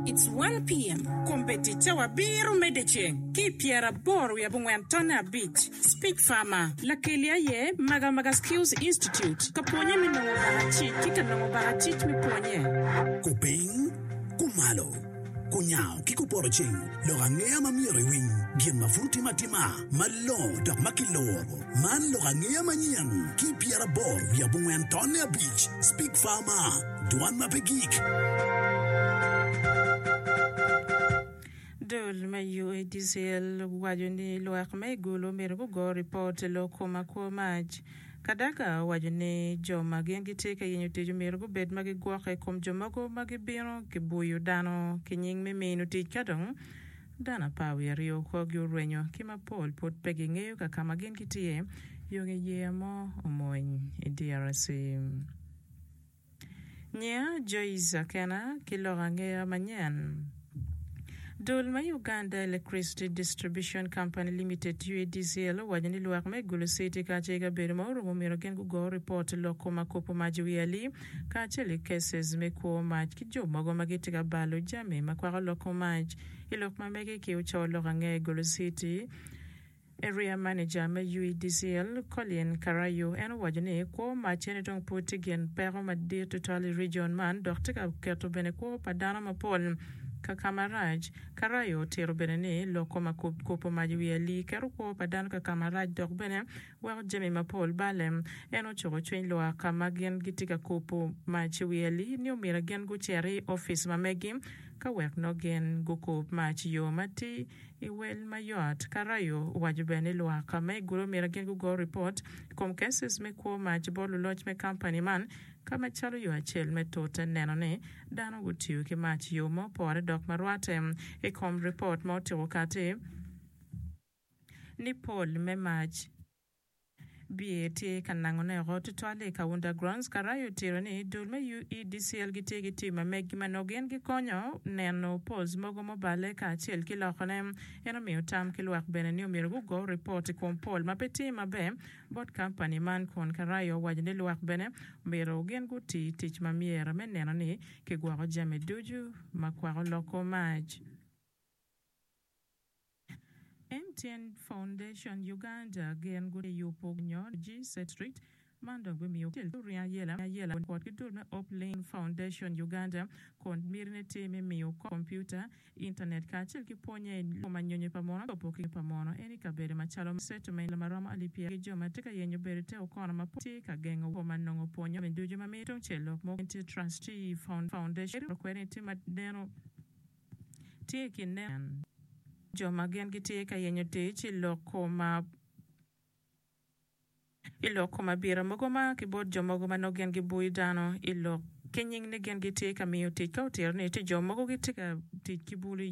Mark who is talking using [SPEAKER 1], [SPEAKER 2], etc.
[SPEAKER 1] It's one PM. Kombeddi cawa abiro me dyeceng ki i pyeraboro wiye abongwen tonne abic. Speech Farmer, Lakeli aye Magamaga Skills Institute ka pwonye me nongo bakacic ki ka nongo bakacic me pwonye.
[SPEAKER 2] Kupiny, kumalo, kunyango ki kupoto ceng, lok angeya ma myero iwiny, gin ma pud otime atima, malongo dok ma kiluro. Man lok angeya manyen ki i 84 tonne abic, Speak Farmer, dwan ma pe gik.
[SPEAKER 3] Dul me UADCL owaco ni lwak me i Gulu myero gugo ripot i lok kom akwo mac. Kadaga owaco ni jo ma gin gitye ka yenyo tic omyero gubed ma gigwokke i kom jo mogo ma gibino gibuyo dano ki nying me mino tic ka dong dano 12 kwogi orwenyo ki mapol pud pe gingeyo ka ka ma gin gitye yo nge yeya mo omony i DRC. Nyiya Joyce Akena ki lok angeya manyen. Dul me Uganda Electricity Distribution Company Limited, UEDCL, owaco ni lwak me Gulu City kacel ki kabedo ma orumo myero gin gugo ripot i lok kom akopo mac i wi alii kacel ki cases me kwo mac ki jo mogo ma gitye ka balo jami ma kwako lok kom mac. I lok ma mege ki oco lok angeya i Gulu City, Area Manager me UEDCL, Colin Karayu en owaco ni kwo mac eni dong pud tye gin peko madit tutwal i region man dok tye ka keto bene kwo pa dano mapol ka ka marac. Karayu otito bene ni lok kom akubo mac i wi alii keto kwo pa dano ka ka marac dok bene weko jami mapol balle. En ocuko cwiny lwak ka ma gin gitye ka kubo mac i wi alii ni omyero gin gucit i opic ma megi ka wek nongo gin gukub mac i yo matir. I wel mayot, Karayo owaco bene ni lwak me Gulu myero gin gugo ripot i kom cases me kwo mac bot luloc me kampani man ka macalo yo acel me tute neno ni dano gutiyo ki mac i yo ma opore dok ma rwate i kom ripot ma otyeko kati ni pol me mac Biye tye ka nangone oko tutwal i Kaunda Grounds. Karayo otito ni dul me UEDCL gitye ki tim ma meggi ma nongo gin gikonyo neno poles mogo mubale kacel ki lokone. En omiyo tam ki lwak bene ni omyero gugo ripot i kom pol ma pe tye maber bot kampani man kun Karayo owaco ni lwak bene omyero gin guti tic ma myero me neno ni kigwoko jami ducu ma kwako loko mac. MTN Foundation Uganda gin guyubo nyo G-Street man dong bimiyo oringo ayela ayela kwot ki dul me Hope Link Foundation Uganda kun mitine tye me miyo kompiuta, intanet kacel ki pwonye i kom anyonyo pa muno cobo ki pa muno en i kabedo macalo settlement maromo alip pyera ki jo ma tye ka yenyo bedo i te okono ma pud tye ka gengo woko ma nongo pwonyo jami ducu ma mito tungcel lok mogo tye Trustee Foundation kwede ni tye ma deno Tye i kin jo ma gin gitye ka yenyo tic i lok kom abita mogo ma ki bot jo mogo ma nongo gin gibuyo dano i lok ki nying ni gin gitye ka miyo tic ka otito ni tye jo mogo gitye ka tic ki bulu.